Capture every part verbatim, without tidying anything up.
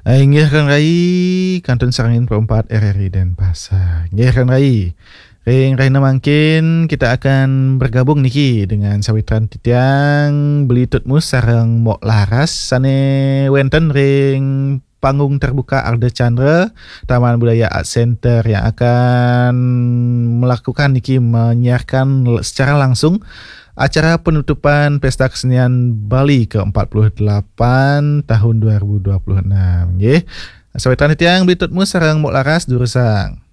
Inggih, Ran Rai, kantun sareng Info empat R R I Denpasar. Inggih, Ran Rai. Ring rahina mangkin kita akan bergabung niki dengan sawitran titiang Beli Tutmus sareng Mok Laras sane wenten ring panggung terbuka Ardha Candra, Taman Budaya Art Center yang akan melakukan niki, menyiarkan secara langsung acara penutupan Pesta Kesenian Bali ke empat puluh delapan tahun dua ribu dua puluh enam, nggih. Sawitran titiang Beli Tutmus sareng Mok Laras durusang.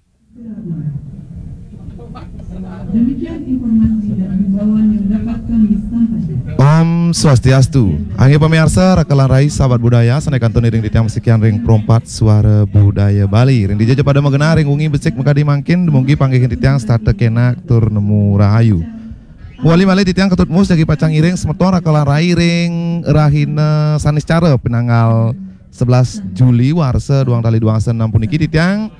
Demikian informasi dan himbauan yang dapat kami sampaikan. Om Swastiastu. Inggih pamiarsa, raka lan rai sahabat budaya, sane kantun iring titiang masikian ring Pro empat Suara Budaya Bali. Ring dija ja pada magenah ring wengi becik makadi mangkin, dumugi panggihin titiang setata kenak tur nemu rahayu. Wali malih titiang Ketut Mus jagi pacang ngiring semeton raka lan rai ring rahina Saniscara pinanggal sebelas Juli warsa duang tali duang asa enam puniki titiang,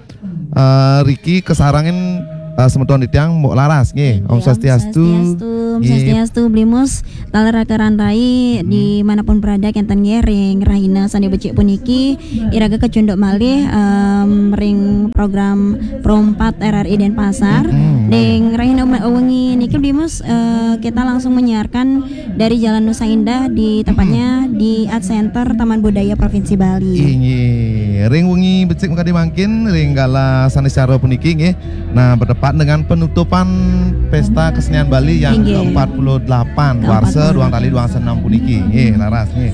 eh, riki kasarengin, eh, semeton titiang Mok Laras nggih. Om Swastiastu. Swastiastu, Om Swastiastu, Beli Mus, taler raka lan rai di manapun berada kenten nggih ring rahina sane becik puniki, iraga kacunduk malih, em, ring program Pro empat R R I Denpasar. Ring rahina wengi niki Beli Mus, eh, kita langsung menyiarkan dari Jalan Nusa Indah di tepatnya di Art Center Taman Budaya Provinsi Bali. Inggih, ring wengi becik makadi mangkin ring galah Saniscara puniki nggih. Nah, bertepatan dengan penutupan Pesta Kesenian Bali yang Inggih. ke empat puluh delapan Ke warsa empat puluh. Duang Tali Duang Senam puniki. Nggih, laras nggih.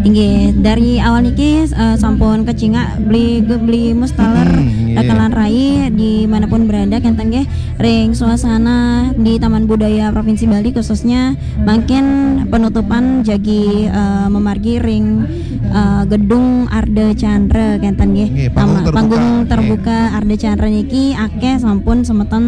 Inggih, dari awal niki, eh, sampun kacingak Beli Beli Mus taler Hmm, inggih. raka lan rai di manapun berada kenten nggih ring suasana di Taman Budaya Provinsi Bali khususnya mangkin penutupan jagi, eh, mamargi ring, eh, gedung Ardha Candra kenten nggih. Nggih, panggung Tama- terbuka. panggung Nggih. terbuka Ardha Candra niki akeh sampun semeton,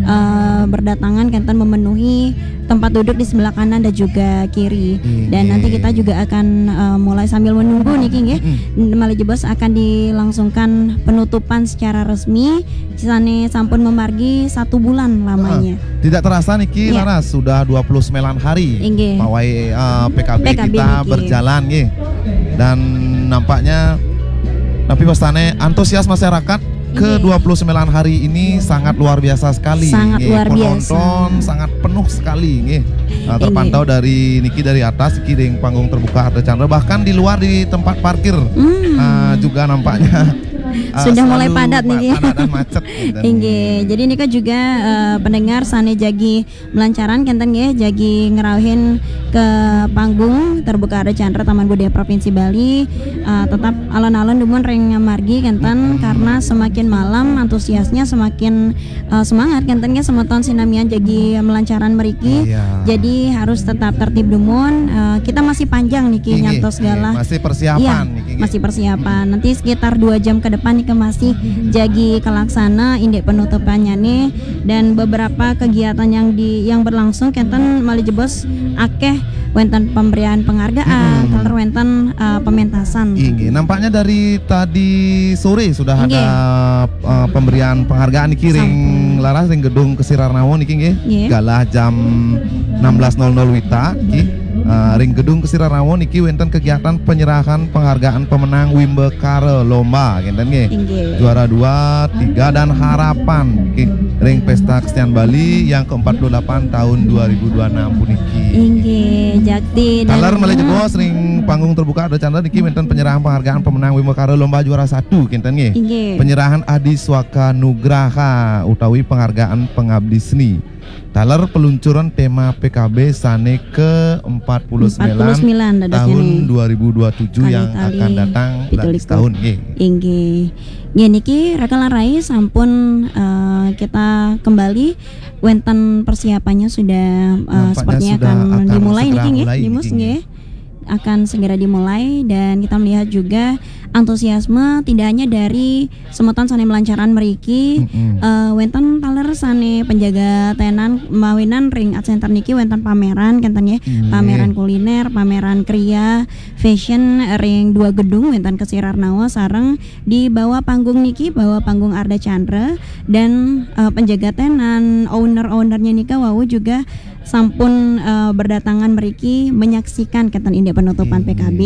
eh, berdatangan kenten memenuhi tempat duduk di sebelah kanan dan juga kiri. Inggih. Dan nanti kita juga akan, eh, mulai sambil menunggu niki nggih. Mm-mm. Malih jebos akan dilangsungkan penutupan secara resmi sane sampun mamargi satu bulan lamanya. Tidak terasa niki Iya. laras sudah dua puluh sembilan hari Inggih. pawai, eh, P K B P K B kita niki. Berjalan nggih. Dan nampaknya tapi pastane antusias masyarakat ke Inggih. dua puluh sembilan hari ini sangat luar biasa sekali. Sangat Nggih, luar biasa. Penonton sangat penuh sekali nggih. Nah, Inggih. terpantau dari niki dari atas niki ring panggung terbuka Ardha Candra, bahkan di luar di tempat parkir, Hmm. ah, juga nampaknya ah, Sudah mulai selalu padat pa- niki. Padat dan macet gitu. Inggih, jadi nika juga, eh, pendengar sane jagi melancaran kenten nggih, jagi ngrauhin ke panggung terbuka Ardha Candra Taman Budaya Provinsi Bali, eh, tetap alon-alon dumun ring margi kenten, karena semakin malam antusiasnya semakin, eh, semangat kenten nggih, semeton sinamian jagi melancaran mriki. Iya. Jadi harus tetap tertib dumun. Eh, kita masih panjang niki Inggih, nyantos inggih. galah. Masih persiapan Iya, niki, nggih. Masih persiapan. Nanti sekitar dua jam ke depan niki masih jagi kalaksana indik penutupannya nih, dan beberapa kegiatan yang di yang berlangsung kenten malih jebos akeh wenten pemberian penghargaan, Hmm. taler wenten, eh, pementasan. Inggih, nampaknya dari tadi sore sudah Inggih. ada uh, pemberian penghargaan niki ring Sampun. laras ring gedung Kesirarnawa niki nggih. Nggih. Galah jam enam belas nol nol wita nggih. Uh, ring gedung Kesirarnawa niki wenten kegiatan penyerahan penghargaan pemenang Wimbakara lomba kenten nggih. Inggih. Juara dua, tiga dan harapan nggih. Ring Pesta Kesenian Bali yang ke empat puluh delapan tahun dua ribu dua enam puniki. Inggih, jakti dan Taler malih jebos ring panggung terbuka Ardha Candra niki wenten penyerahan penghargaan pemenang Wimbakara lomba juara satu kenten nggih. Inggih. Penyerahan Adi Swaka Nugraha utawi penghargaan pengabdi seni. Taler peluncuran tema P K B sane ke empat puluh sembilan Empat puluh sembilan dadosnya tahun nih. dua ribu dua tujuh yang Kali tali akan datang pitu likur. Setahun nggih. Inggih. Nggih niki raka lan rai sampun, eh, kita kembali wenten persiapannya sudah, eh, Nampaknya sepertinya sudah akan, akan dimulai segera niki nggih, mulai Beli Mus niki, nggih. Akan segera dimulai dan kita melihat juga antusiasme tidak hanya dari semeton sane melancaran mriki, Mm-mm. eh, wenten taler sane penjaga tenan mawinan ring Art Center niki wenten pameran kenten nggih. Inggih. Pameran kuliner, pameran kriya, fashion ring dua gedung wenten Kesirarnawa sareng di bawah panggung niki, bawah panggung Ardha Candra dan, eh, penjaga tenan, owner-ownernya nika wau juga sampun eh, berdatangan mriki menyaksikan kenten indik penutupan Inggih. P K B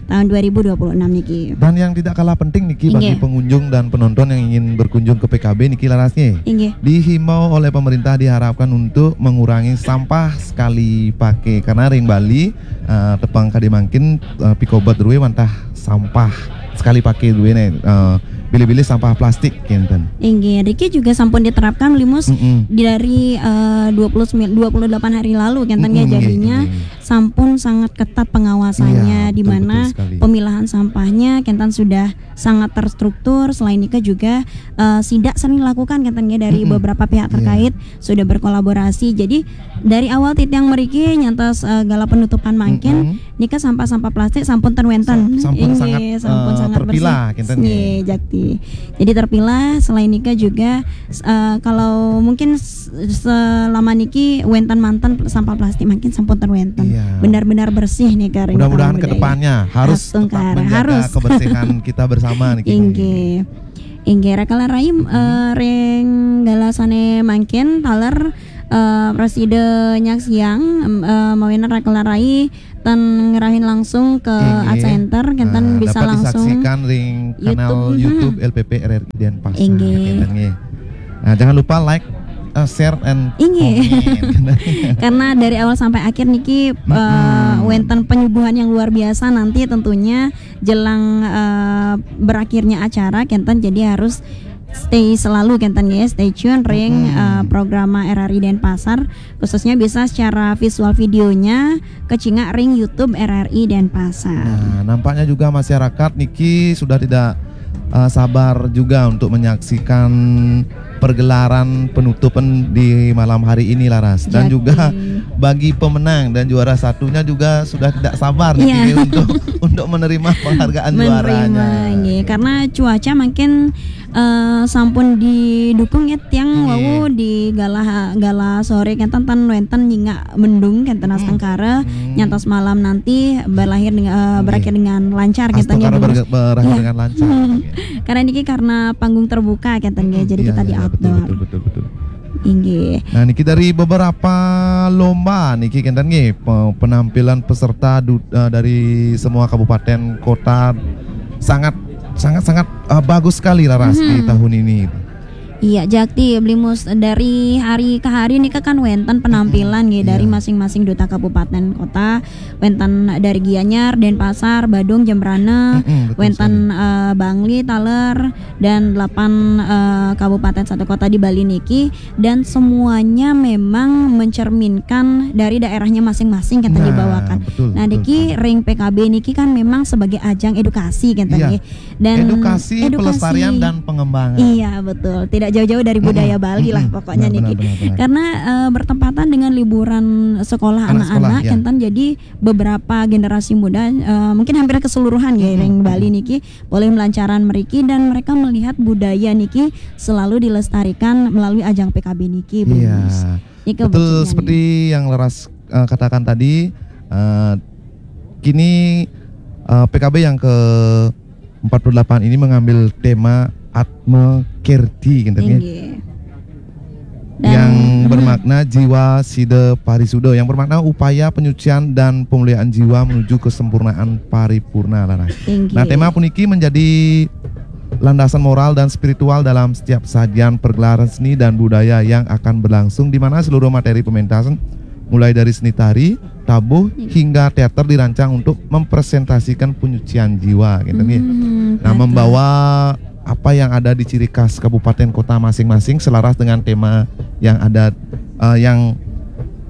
tahun dua ribu dua puluh enam niki. Dan yang tidak kalah penting niki bagi Inggih. pengunjung dan penonton yang ingin berkunjung ke P K B niki, laras nggih. Inggih. Dihimbau oleh pemerintah, diharapkan untuk mengurangi sampah sekali pakai, karena ring Bali eh, tepang kadi mangkin eh, pikobet druwe wantah sampah sekali pakai druwe ne, eh, bilih-bilih sampah plastik kenten. Inggih, niki juga sampun diterapkan Bli Mus Mm-mm. dari eh, dua puluh sembilan, dua puluh delapan hari lalu kenten nggih. Mm-mm, Jadinya nggih. sampun sangat ketat pengawasannya, Iya, di betul, mana betul sekali. pemilahan sampahnya kenten sudah sangat terstruktur. Selain itu juga eh, sidak sering dilakukan kenten nggih dari Mm-mm. beberapa pihak Iya. terkait sudah berkolaborasi. Jadi dari awal titiang mriki nyantos eh, gala penutupan mangkin, Mm-mm. nika sampah-sampah plastik sampun ten wenten. Sa-, sampun Inggih, sangat, sampun eh, sangat terpilah, bersih. kenten Nggih, nggih. Jakti. Jadi terpilah. Selain nika juga eh, kalau mungkin s- selama niki wenten manten sampah plastik mangkin sampun ten wenten. Iya. Benar-benar bersih nih, Kak, ring Mudah-mudahan Taman ke Budaya. depannya harus Astungkara, tetap menjaga harus. Kebersihan kita bersama niki. Inggih. Inggih, Raka Larai, eh, ring galasane mangkin taler eh, prasida nyaksiang, em, eh, mawinan Raka Larai ten ngerahin langsung ke Inggih. Art Center, kenten Nah, bisa dapat langsung disaksikan ring kanal YouTube, YouTube, hmm. L P P R R I Denpasar, Inggih. kenten nggih. Nah, jangan lupa like, eh, share and Inggih. comment. Karena dari awal sampai akhir niki eh, Mm-mm. wenten penyuguhan yang luar biasa nanti tentunya jelang eh, berakhirnya acara kenten, jadi harus stay selalu kenten ya, stay tune ring Mm-mm. eh, program R R I Denpasar, khususnya bisa secara visual videonya kecingak ring YouTube R R I Denpasar. Nah, nampaknya juga masyarakat niki sudah tidak eh, sabar juga untuk menyaksikan pergelaran penutupan di malam hari ini, laras. Dan Jadi. Juga bagi pemenang dan juara satunya juga sudah tidak sabar niki Iya. untuk untuk menerima penghargaan juaranya. Menerima, nggih. Karena cuaca mungkin eh, sampun didukung ya tiang Nggih. Wau di gala gala sore kenten ten wenten nyingak mendung kenten astungkara, Hmm. nyantos malam nanti berakhir dengan eh, Nggih. berakhir dengan lancar kenten ya, Astungkara Bli Mus. berge- berakhir Iya. dengan lancar. Hmm. Nggih. Karena ini karena panggung terbuka kenten nggih, jadi Iya, kita iya, di iya, betul, outdoor. Betul, betul, betul. Inggih. Nah, niki dari beberapa lomba niki kenten nggih, pe- penampilan peserta du- eh, dari semua kabupaten kota sangat sangat sangat eh, bagus sekali, laras, di Mhm. tahun ini. Iya, Jakti, Bli Mus, dari hari ke hari nih kan wenten penampilan nggih dari Iya. Masing-masing duta kabupaten kota, wenten dari Gianyar, Denpasar, Badung, Jembrana, Mm-mm, betul wenten sekali. eh, Bangli, taler, dan delapan eh, kabupaten satu kota di Bali niki, dan semuanya memang mencerminkan dari daerahnya masing-masing kenten Nah, dibawakan. betul, Nah, betul niki sekali. Ring P K B niki kan memang sebagai ajang edukasi kenten Iya. nggih. Dan Edukasi, edukasi. Pelestarian, dan pengembangan. Iya, betul. Tidak jauh-jauh dari budaya Mm-mm, Bali lah mm-mm. pokoknya Benar, niki. benar, benar, benar. Karena eh, bertempatan dengan liburan sekolah Anak sekolah, anak-anak ya. kenten, jadi beberapa generasi muda eh, mungkin hampir keseluruhan ya Mm-mm. Ring Bali niki boleh melancaran mriki dan mereka melihat budaya niki selalu dilestarikan melalui ajang P K B niki, Bli Iya. Mus. Niki Betul, bujurnya seperti nih. Yang laras eh, katakan tadi, eh, kini eh, P K B yang ke empat puluh delapan ini mengambil tema Atma Kerti, kenten nggih. Inggih. Dan Yang hmm, bermakna jiwa sida parisuda, yang bermakna upaya penyucian dan pemulihan jiwa menuju kesempurnaan paripurna, laras. Inggih. Nah, tema puniki menjadi landasan moral dan spiritual dalam setiap sajian pergelaran seni dan budaya yang akan berlangsung, di mana seluruh materi pementasan, mulai dari seni tari, tabuh, Iya. hingga teater, dirancang untuk mempresentasikan penyucian jiwa, gitu nggih. Hmm, Nah, betul. Membawa apa yang ada di ciri khas kabupaten kota masing-masing selaras dengan tema yang ada eh, yang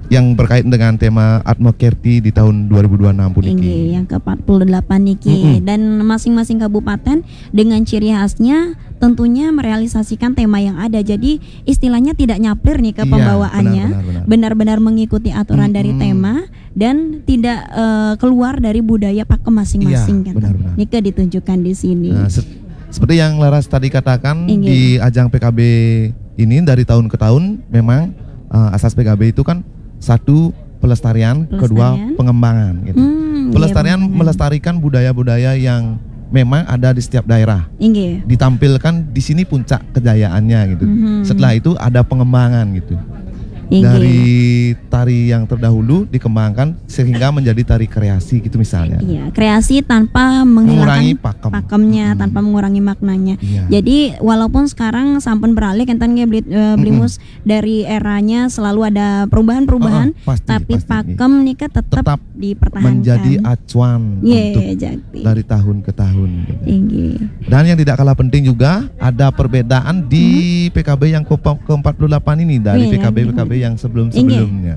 yang berkait dengan tema Atma Kerti di tahun dua ribu dua puluh enam puniki. Inggih, yang ke empat puluh delapan niki. Mm-mm. Dan masing-masing kabupaten dengan ciri khasnya tentunya merealisasikan tema yang ada. Jadi istilahnya tidak nyaplir nih ke Iya, pembawaannya. Benar, benar, benar. Benar-benar mengikuti aturan dari Mm-mm. tema dan tidak eh, keluar dari budaya pakem masing-masing, Iya, kan. Benar, benar. Nika ditunjukkan di sini. Nah, se- seperti yang laras tadi katakan, Inggih. Di ajang P K B ini dari tahun ke tahun memang eh, asas P K B itu kan satu pelestarian, kedua Pelestarian. Pengembangan, gitu. Hmm, iya, Pelestarian pengembangan. Melestarikan budaya-budaya yang memang ada di setiap daerah. Inggih. Ditampilkan di sini puncak kejayaannya, gitu. Mhm. Setelah itu ada pengembangan, gitu. Inggih. Dari tari yang terdahulu dikembangkan sehingga menjadi tari kreasi gitu misalnya. Iya, kreasi tanpa Mengurangi menghilangkan pakem. pakemnya, Mm-mm. tanpa mengurangi maknanya. Iya. Jadi walaupun sekarang sampun beralih, enten nggih, Bli-, eh, Blimus, dari eranya selalu ada perubahan-perubahan, Heeh, pasti, tapi pasti. pakem nika tetap, Tetap dipertahankan. Menjadi acuan Iya, untuk jakti. dari tahun ke tahun gitu. Inggih. Dan yang tidak kalah penting juga ada perbedaan di P K B yang ke- ke-empat puluh delapan ini dari Iya, P K B P K B yang sebelum-sebelumnya.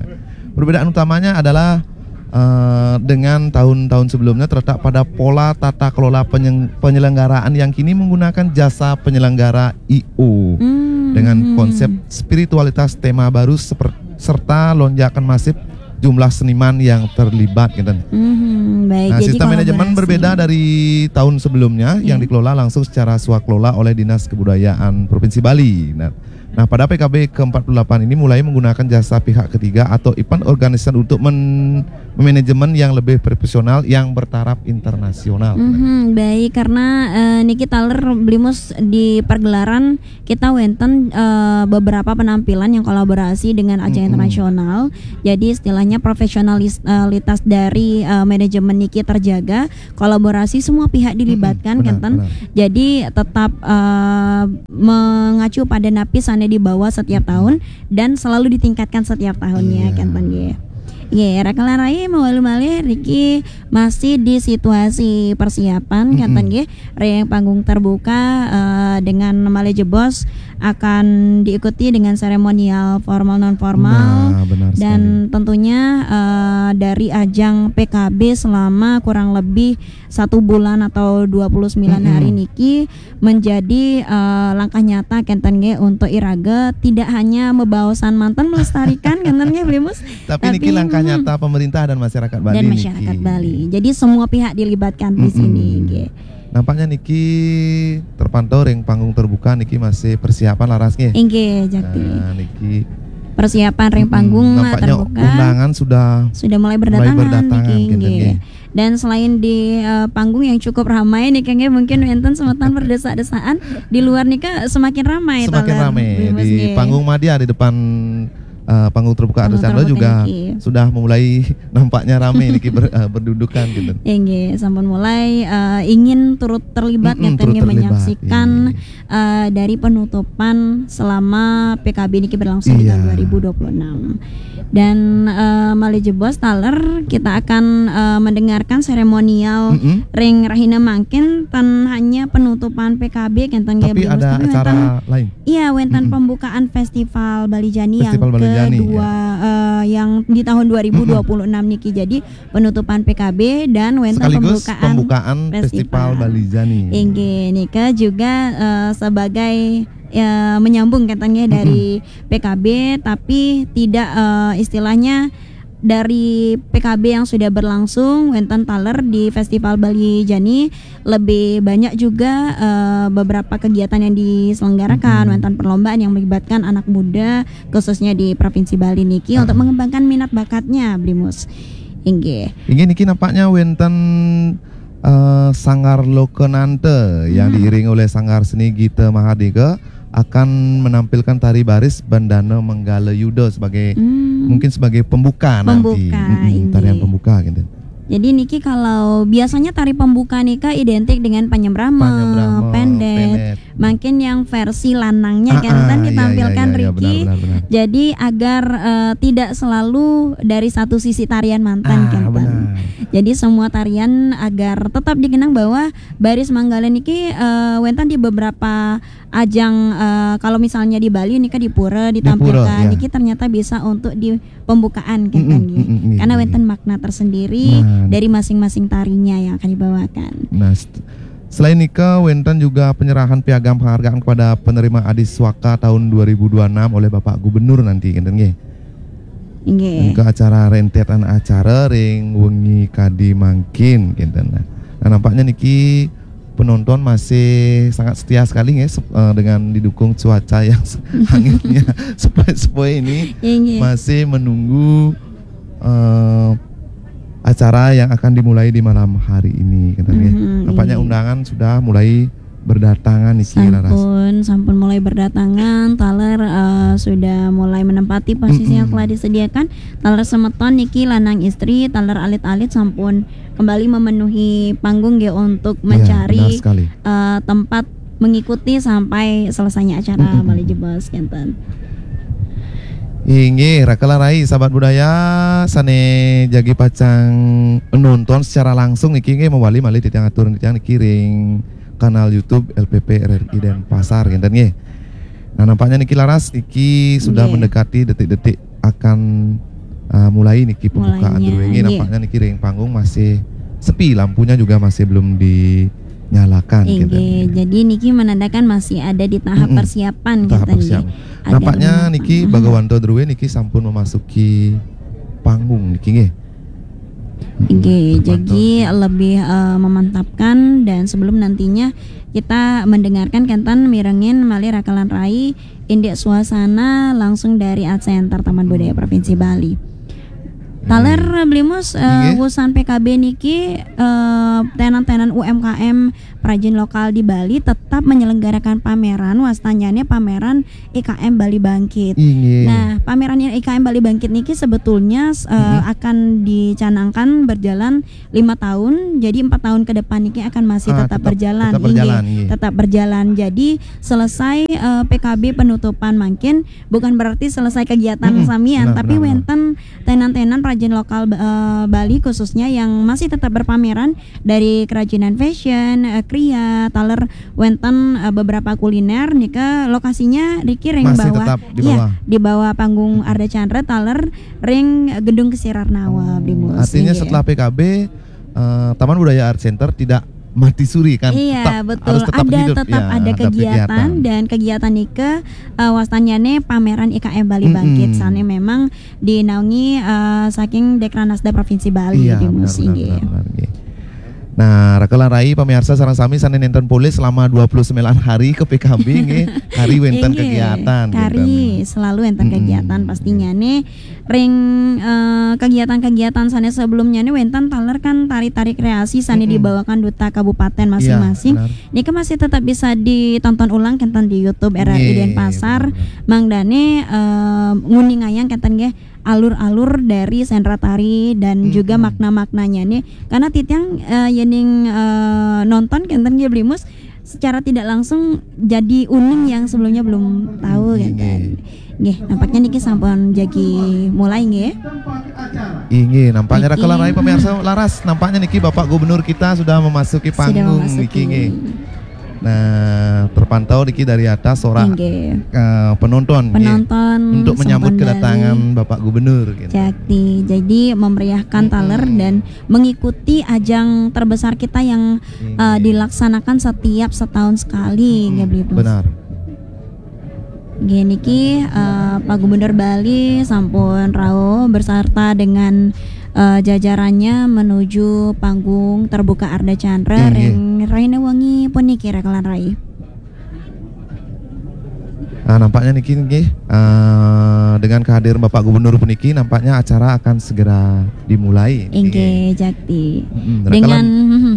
Perbedaan utamanya adalah eh, dengan tahun-tahun sebelumnya terletak pada pola tata kelola penyeng- penyelenggaraan yang kini menggunakan jasa penyelenggara I O Hmm. dengan konsep spiritualitas tema baru seper- serta lonjakan masif jumlah seniman yang terlibat gitu. Hmm, baik. Nah, Jadi sistem manajemen kolaborasi. Berbeda dari tahun sebelumnya yang Iya. dikelola langsung secara swakelola oleh Dinas Kebudayaan Provinsi Bali. Nah, nah, pada P K B ke-empat puluh delapan ini mulai menggunakan jasa pihak ketiga atau event organizer untuk men memanajemen yang lebih profesional yang bertaraf internasional. Mhm, baik, karena eh, niki taler Blimus di pergelaran kita wenten eh, beberapa penampilan yang kolaborasi dengan ajang Mm-mm. internasional. Jadi istilahnya profesionalitas dari eh, manajemen niki terjaga, kolaborasi semua pihak dilibatkan, Mm-mm, benar, kenten. benar. Jadi tetap eh, mengacu pada napi sane dibawa setiap tahun dan selalu ditingkatkan setiap tahunnya, Iya. kenten nggih. Nggih, rekan rai mawalu malih niki masih di situasi persiapan, Mm-mm. kenten nggih. Ring panggung terbuka eh, dengan malih jebos akan diikuti dengan seremonial formal non formal Nah, benar dan sekali. Tentunya eh, dari ajang P K B selama kurang lebih satu bulan atau dua puluh sembilan Mm-mm. hari niki menjadi eh, langkah nyata, kenten nggih, untuk iraga tidak hanya membawasan mantan melestarikan, kenten nggih, Blimus. Tapi, Tapi, niki langkah hmm. nyata pemerintah dan masyarakat Bali Dan niki. Masyarakat Bali. Jadi semua pihak dilibatkan di Mm-mm. sini nggih. Nampaknya niki terpantau ring panggung terbuka niki masih persiapan laras nggih. Inggih, jakti. Nah, niki Persiapan ring mm-mm, panggung nampaknya terbuka undangan sudah sudah mulai mulai berdatangan, berdatangan niki, gitu nggih. nggih. Dan selain di eh, panggung yang cukup ramai niki nggih, mungkin wenten semeton berdesak-desakan, di luar nika semakin ramai Semakin taler, ramai Blimus di nggih. Panggung Madya di depan eh, panggung terbuka Panggung Archandra terbuka juga niki. Sudah mulai nampaknya ramai niki ber- eh, berdudukan gitu. Inggih, sampun mulai eh, ingin turut terlibat, Mm-mm, kenten turut nggih, terlibat, menyaksikan iya. eh, dari penutupan selama P K B niki berlangsung di tahun Iya. dua ribu dua puluh enam. Dan eh, malih jebos taler kita akan eh, mendengarkan seremonial Mm-mm. ring rahina mangkin, ten hanya penutupan P K B, kenten nggih, Tapi Blimus, ada tapi acara wenten, lain. Iya, wenten Mm-mm. pembukaan Festival Bali Jani Festival yang Bali Jani, kedua eh, yang di tahun dua ribu dua puluh enam niki. Jadi penutupan P K B dan wenten Sekaligus pembukaan, pembukaan Festival Bali Jani. Inggih, nika juga eh, sebagai eh, menyambung, kenten nggih, dari P K B, tapi tidak eh, istilahnya dari P K B yang sudah berlangsung, wenten taler di Festival Bali Jani lebih banyak juga eh, beberapa kegiatan yang diselenggarakan, Mm-mm. wenten perlombaan yang melibatkan anak muda khususnya di Provinsi Bali niki Ah. untuk mengembangkan minat bakatnya, Blimus. Inggih. Inggih, niki nampaknya wenten eh, Sanggar Lokananta yang Hmm. diiringi oleh Sanggar Seni Gita Mahardika akan menampilkan tari baris Bandana Manggala Yuda sebagai Hmm. mungkin sebagai pembuka nanti. Pembuka, Mm-mm, inggih. Tarian pembuka gitu. Jadi niki kalau biasanya tari pembuka nika identik dengan panyembrama, Panyembrama, pendet. pendet. Mungkin yang versi lanangnya, Ah, kenten, ah, iya, ditampilkan iya, iya, iya, riki. benar, benar, benar. Jadi agar eh, tidak selalu dari satu sisi tarian mantan, Ah, kenten. benar. Jadi semua tarian agar tetap dikenang bahwa baris Manggala niki eh, wenten di beberapa ajang, eh, kalau misalnya di Bali nika di pura Di ditampilkan, pura, ya. Niki ternyata bisa untuk di pembukaan, kenten Mm-mm, nggih. mm-mm, iya, Karena iya. Wenten makna tersendiri Nah. dari masing-masing tarinya yang akan dibawakan. Nah, st- selain nika, wenten juga penyerahan piagam penghargaan kepada penerima Adi Swaka tahun dua ribu dua enam oleh Bapak Gubernur nanti, kenten nggih. Nggih. Ke acara rentetan acara ring wengi kadi mangkin, kenten. Nah, nampaknya niki penonton masih sangat setia sekali, nggih, sep- eh, dengan didukung cuaca yang se- hangatnya sepoi-sepoi ini, Nggih. masih menunggu eh, acara yang akan dimulai di malam hari ini, kenten nggih. Mhm, Nampaknya iya. Undangan sudah mulai berdatangan niki, Laras. Sampun, sampun mulai berdatangan, taler eh, sudah mulai menempati posisi yang Mm-mm. telah disediakan. Taler semeton niki lanang istri, taler alit-alit sampun kembali memenuhi panggung nggih untuk Iya, mencari benar sekali. eh, tempat mengikuti sampai selesainya acara Mm-mm. malih jebos kenten. Inggih, raka lan rai sahabat budaya sane jagi pacang nonton secara langsung niki nggih, mawali malih titiang atur titiang niki ring kanal YouTube L P P R R I Denpasar kenten nggih. Nah, nampaknya niki, Laras, niki sudah Nggih. mendekati detik-detik akan uh, mulai niki pembukaan Mulainya, dulu nggih. nggih. Nampaknya niki ring panggung masih sepi, lampunya juga masih belum dinyalakan kenten Inggih, nggih. Jadi niki menandakan masih ada di tahap Mm-mm. persiapan Tahap kenten nggih. persiapan. Ada Nampaknya lima- niki Mm-mm. Bagawanto Druwe niki sampun memasuki panggung niki nggih. Inggih, Terpantau jadi niki. Lebih eh, memantapkan dan sebelum nantinya kita mendengarkan kenten mirengin malih raka lan rai indik suasana langsung dari Art Center Taman Budaya Provinsi Bali. Taler Blimus eh, Inggih. Wusan P K B niki eh, tenan-tenan U M K M perajin lokal di Bali tetap menyelenggarakan pameran, wastanyane pameran I K M Bali Bangkit. Inggih. Nah, pameran I K M Bali Bangkit niki sebetulnya eh, Mm-mm. akan dicanangkan berjalan lima tahun, jadi empat tahun ke depan niki akan masih Ah, tetap, tetap- berjalan, tetap inggih. Berjalan, inggih. Tetap berjalan. Jadi selesai eh, P K B penutupan mangkin bukan berarti selesai kegiatan Mm-mm. samian, Benar, tapi benar, benar. Wenten tenan-tenan perajin lokal eh, Bali khususnya yang masih tetap berpameran dari kerajinan fashion, eh, kria, taler wenten eh, beberapa kuliner nika lokasinya riki ring Masih bawah, tetap di iya, bawah. Di bawah panggung Ardha Candra taler ring eh, gedung Kesirarnawa Blimus. Artinya Inggih. Setelah P K B eh, Taman Budaya Art Center tidak mati suri kan? Iya, Tetap, betul. Harus tetap Ada hidup, tetap ya, ada tetap kegiatan, dan kegiatan nika eh, wastanyane pameran I K M Bali Mm-mm. Bangkit sane memang dinaungi eh, saking Dekranasda Provinsi Bali Iya, Blimus benar, benar, inggih. benar, benar, nggih. Nah, raka lan rai pamirsa sareng sami sane nenten polih selama dua puluh sembilan hari ke P K B nggih. Kari wenten Inggih, kegiatan kari kenten. Selalu wenten Mm-mm. Kegiatan pastinya nih ring eh, kegiatan-kegiatan sane sebelumnya nih wenten taler kan tari-tari kreasi sane Mm-mm. dibawakan duta kabupaten masing-masing. Iya, benar. Nika masih tetap bisa ditonton ulang kenten di YouTube R R I Nggih, Denpasar. benar, benar. Mangdane eh, nguningayang kenten nggih alur-alur dari sendratari dan Mm-mm. juga makna-maknanya nih. Karena titiang eh, yening eh, nonton kenten nggih Blimus secara tidak langsung jadi uning yang sebelumnya belum tahu Nggih. kenten. Nggih, nampaknya niki sampun jagi mulai nggih. Inggih, nampaknya raka lan Niki. Rai pemirsa laras, nampaknya niki Bapak Gubernur kita sudah memasuki Sudah panggung memasuki. niki nggih. Nah, terpantau niki dari atas sorak Inggih. eh, penonton nggih. Penonton Untuk menyambut sampun kedatangan bali. Bapak Gubernur gitu. Jakti. Jadi memeriahkan Mm-mm. taler dan mengikuti ajang terbesar kita yang eh, Inggih. dilaksanakan setiap setahun sekali Mm-mm. nggih Bli Bos. Benar. Nggih niki eh, Pak Gubernur Bali sampun rauh beserta dengan eh, jajarannya menuju panggung terbuka Ardha Candra Inggih. ring raine wengi puniki raka lan rai. Nah, nampaknya niki nggih eh, dengan kehadiran Bapak Gubernur puniki nampaknya acara akan segera dimulai. Inggih, Jakti. Mm-mm, raka Dengan lan- mhm,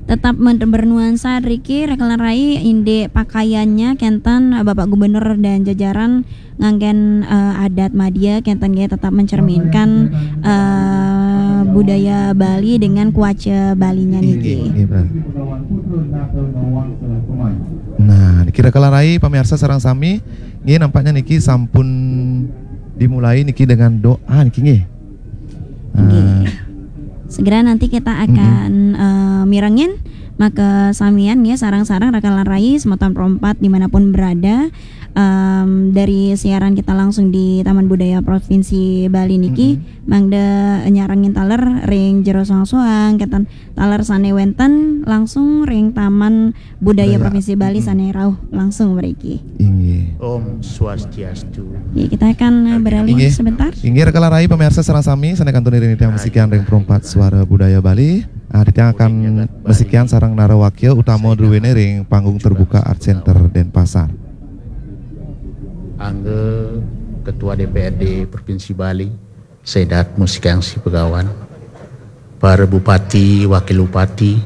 tetap men- bernuansa riki raka lan rai indik pakaiannya kenten Bapak Gubernur dan jajaran nganggen eh, adat madya kenten nggih tetap mencerminkan eh, budaya Bali dengan kuaca Balinya Inggih, niki. inggih, benar. Nah, niki raka lan rai pemirsa sareng sami, nggih nampaknya niki sampun dimulai niki dengan doa niki nggih. Nggih. Eh, Segera nanti kita akan eh, mirengin maka samian nggih sareng-sareng raka lan rai semeton perempat dimanapun berada em, dari siaran kita langsung di Taman Budaya Provinsi Bali niki mangda nyarengin taler ring jero soang-soang kenten taler sane wenten langsung ring Taman Budaya Budaya. Provinsi Bali Mm-mm. sane rauh langsung mriki. Inggih. Om Swastiastu. Ya, kita akan eh, beralih Inggih. sebentar. Inggih raka lan rai pemirsa sareng sami sane kantun iring titiang masikian ring perempat suara budaya Bali. Ah, titiang akan masikian sareng narawakya utama druwene ring panggung terbuka Art Center Denpasar. Angga Ketua D P R D Provinsi Bali, Sedat Musikang Sipegawan, para bupati, wakil bupati,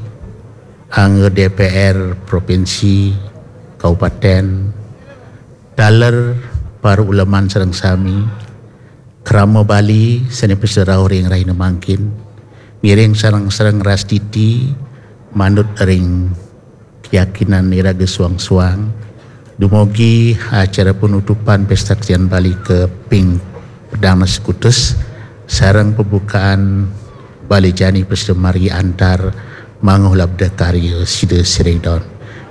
Angga D P R provinsi, kabupaten, taler para uleman sareng sami, krama Bali sane prasida rauh ring rahina mangkin, ngiring sareng-sareng rastiti manut ring keyakinan iraga suang-suang, dumugi acara penutupan Pesta Kesenian Bali kaping pedang sekutus sareng pembukaan Bali Jani prasida margi antar manguh labda karya sida siring daun.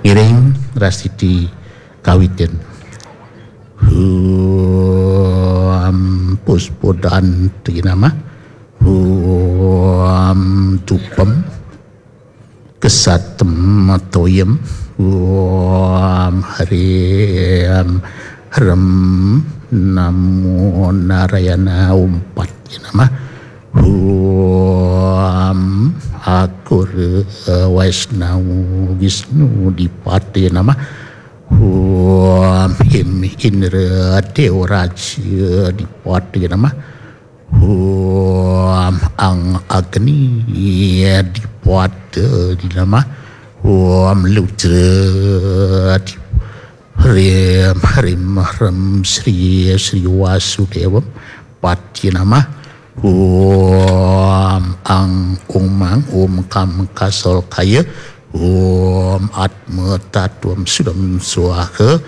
Ngiring rastiti kawitin. Hum puspodanti nama. Hum dupam kesatem toyam. Hum harim hrem namo Narayana, Om Patye Namah. Hum Akur Waisnawa Wisnu Dipatye Namah. Hum Him Indra Devaraja Dipatye Namah. Hum Ang Agni Dipatye Namah. Hum Ludra Dip- Hrim Hrim Hrim Sri Sri Wasudevapatye Namah. Hum Ang Umang Om Kam Kasolkaya. Hum Atma Tatwam Sudam Swaha.